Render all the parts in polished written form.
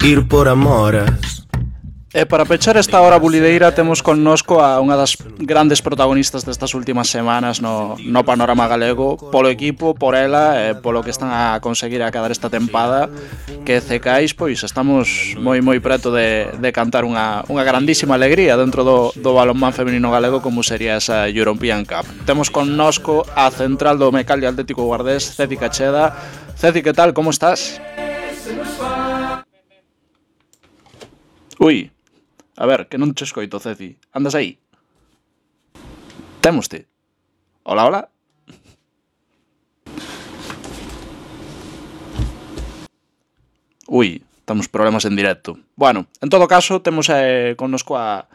ir por Amoras. E para pechar esta hora bulideira temos connosco a unha das grandes protagonistas destas últimas semanas no panorama galego, polo equipo, por ela e polo que están a conseguir acabar esta tempada, que Cecais, pois estamos moi preto de cantar unha grandísima alegría dentro do balonmán feminino galego como sería esa European Cup. Temos connosco a central do Mecalia Atlético Guardés, Ceci Cacheda. Ceci, que tal? Como estás? Ui, a ver, que non te escoito, Ceci. Andas aí? Témoste. Hola, hola. Ui, temos problemas en directo. Bueno, en todo caso, temos connosco a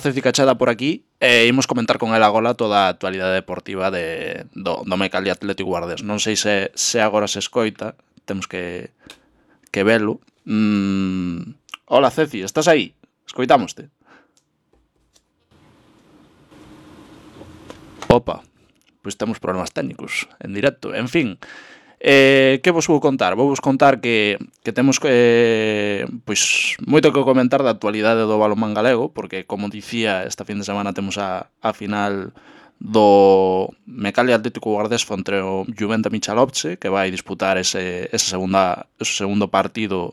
Ceci Cacheda por aquí e imos comentar con ela agora toda a actualidade deportiva do Mecalia Atlético Guardés. Non sei se agora se escoita, temos que velo. Hola, Ceci, estás aí? Escoitámoste. Opa, pois temos problemas técnicos en directo. En fin, que vos vou contar? Vou vos contar que temos pois moito que comentar da actualidade do balonmán galego, porque, como dicía, esta fin de semana temos a final do Mecalia Atlético Guardés contra o Juventa Michalovce, que vai disputar ese segundo partido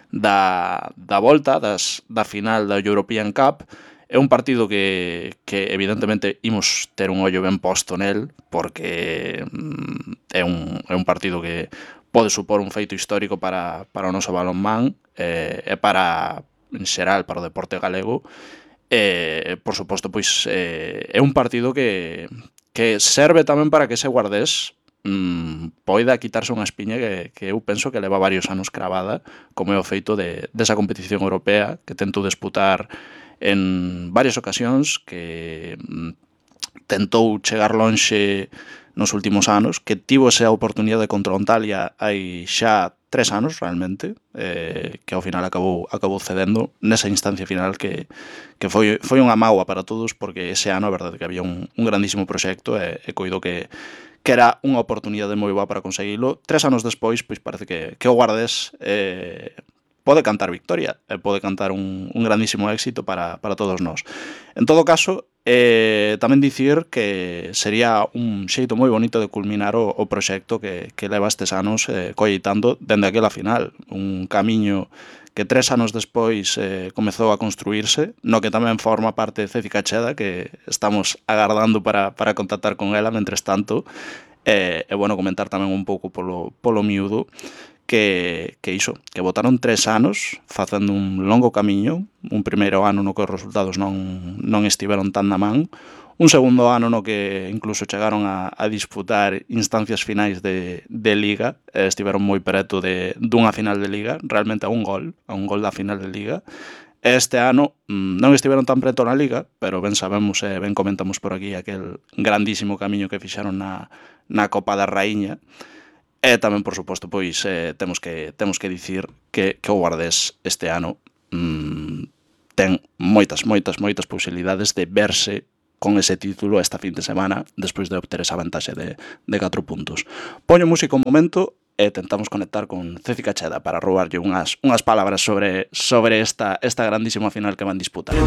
da volta da final da European Cup. É un partido que evidentemente imos ter un ollo ben posto nel, porque é un partido que pode supor un feito histórico para o noso balonmán e para, en xeral, para o deporte galego. Por suposto, pois é un partido que serve tamén para que ese Guardés poida quitarse unha espiña que eu penso que leva varios anos cravada, como é o feito desa competición europea que tento disputar en varias ocasións, que tentou chegar lonxe nos últimos anos, que tivo esa oportunidade contra o Antalya hai xa 3 anos realmente, que ao final acabou cedendo nesa instancia final que foi unha mágoa para todos, porque ese ano a verdade que había un grandísimo proxecto e coido que era unha oportunidade moi boa para conseguilo. 3 anos despois, pois parece que o Guardés pode cantar victoria, pode cantar un grandísimo éxito para todos nós. En todo caso, tamén dicir que sería un xeito moi bonito de culminar o proxecto que leva estes anos colleitando dende aquela final. Un camiño que 3 anos despois comezou a construírse, no que tamén forma parte de Ceci Cacheda, que estamos agardando para contactar con ela, mentres tanto. E bueno, comentar tamén un pouco polo miúdo, que iso, que botaron 3 anos facendo un longo camiño, un primeiro ano no que os resultados non estiveron tan na man, un segundo ano no que incluso chegaron a disputar instancias finais de Liga, estiveron moi preto dunha final de Liga, realmente a un gol da final de Liga. Este ano non estiveron tan preto na Liga, pero ben sabemos e ben comentamos por aquí aquel grandísimo camiño que fixaron na Copa da Raíña. E tamén, por suposto, pois temos que dicir que o Guardés este ano ten moitas posibilidades de verse con ese título esta fin de semana despois de obter esa vantaxe de 4 puntos. Poño música un momento e tentamos conectar con Ceci Cacheda para roubarlle unhas palabras sobre esta grandísima final que van disputar.